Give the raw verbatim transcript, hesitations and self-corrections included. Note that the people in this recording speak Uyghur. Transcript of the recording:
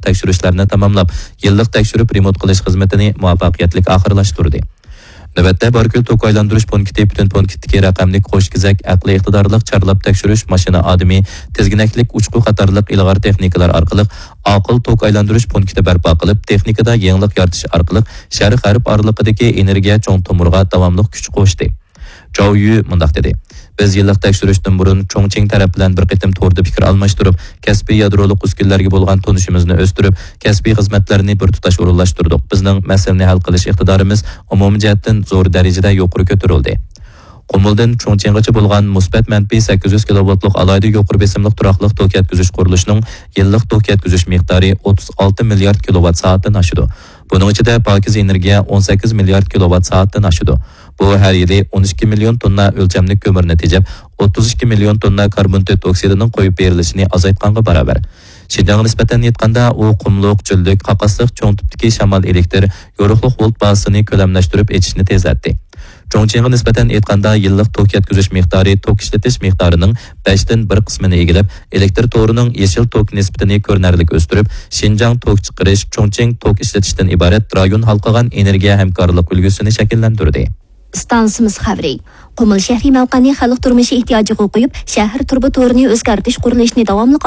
تەكشۈرۈشلەرنى تاماملاپ، يىللىق تەكشۈرۈپ رېمونت قىلىش خىزمىتىنى مۇۋەپپەقىيەتلىك ئاخىرلاشتۇردى. نۆۋەتتە باركۆل توك ئايلاندۇرۇش پونكىتى پۈتۈن پونكىتتىكى رەقەملىك قوش كېزەك ئەقلىي ئىقتىدارلىق چارلاپ تەكشۈرۈش ماشىنا ئادىمى، تىزگىنەكلىك ئۇچقۇ قاتارلىق ئىلغار تېخنىكىلار ئارقىلىق ئاقىل توك ئايلاندۇرۇش پونكىتى بەرپا قىلىپ، تېخنىكىدا يېڭىلىق يارىتىش ئارقىلىق شەرق غەرب ئارىلىقىدىكى ئېنېرگىيە چوڭ تومۇرىغا داۋاملىق كۈچ قوشتى. جاۋ يۈ مۇنداق دېدى: بىز يىللىق تەكشۈرۈشتىن بۇرۇن چۇڭچىڭ تەرەپ بىلەن بىر قېتىم توردا پىكىر ئالماشتۇرۇپ، كەسپىي يادرولۇق ئۈسكۈنىلەرگە بولغان تونۇشىمىزنى ئۆستۈرۈپ، كەسپىي خىزمەتلەرنى بىر تۇتاش ئورۇنلاشتۇردۇق. بىزنىڭ مەسىلىنى ھەل قىلىش ئىقتىدارىمىز ئومۇمىي جەھەتتىن زور دەرىجىدە يۇقىرى كۆتۈرۈلدى. قۇمۇلدىن چۇڭچىڭغىچە بولغان مۇسبەت مەنپىي سەككىز يۈز كىلوۋاتلىق ئالاھىدە يۇقىرى بېسىملىق تۇراقلىق توك يەتكۈزۈش قۇرۇلۇشىنىڭ يىللىق توك يەتكۈزۈش مىقدارى ئوتتۇز ئالتە مىليارد كىلوۋات سائەتتىن ئاشىدۇ. بۇنىڭ ئىچىدە پاكىز ئېنېرگىيە ئون سەككىز مىليارد كىلوۋات سائەتتىن ئاشىدۇ. بۇ ھەر يىلى ئون ئىككى مىليون توننا ئۆلچەملىك كۆمۈرنى تېجەپ، ئوتتۇز ئىككى مىليون توننا كاربوندىد ئوكسىدىنىڭ قويۇپ بېرىلىشىنى ئازايتقانغا باراۋەر. شىنجاڭغا نىسبەتەن ئېيتقاندا، ئۇ قۇملۇق، چۆللۈك، قاقاسلىق چوڭ تىپتىكى شامال ئېلېكتىر، يورۇقلۇق ۋولت بازىسىنى كۆلەملەشتۈرۈپ ئېچىشنى تېزلەتتى. چۇڭچىڭغا نىسبەتەن ئېيتقاندا، يىللىق توك يەتكۈزۈش مىقدارى توك ئىشلىتىش مىقدارىنىڭ بەشتىن بىر قىسمىنى ئىگىلەپ، ئېلېكتىر تورىنىڭ يېشىل توك نىسبىتىنى كۆرۈنەرلىك ئۆستۈرۈپ، شىنجاڭ توك چىقىرىش، چۇڭچىڭ توك ئىشلىتىشتىن ئىبارەت رايون ھالقىغان ئېنېرگىيە ھەمكارلىق ئۈلگىسىنى شەكىللەندۈردى. ئىستانسىمىز خەۋىرى. قۇمۇل شەھىرى مەۋقەنى خەلق تۇرمۇشى ئېھتىياجىغا قويۇپ، شەھەر تۇرۇبا تورىنى ئۆزگەرتىش قۇرۇلۇشىنى داۋاملىق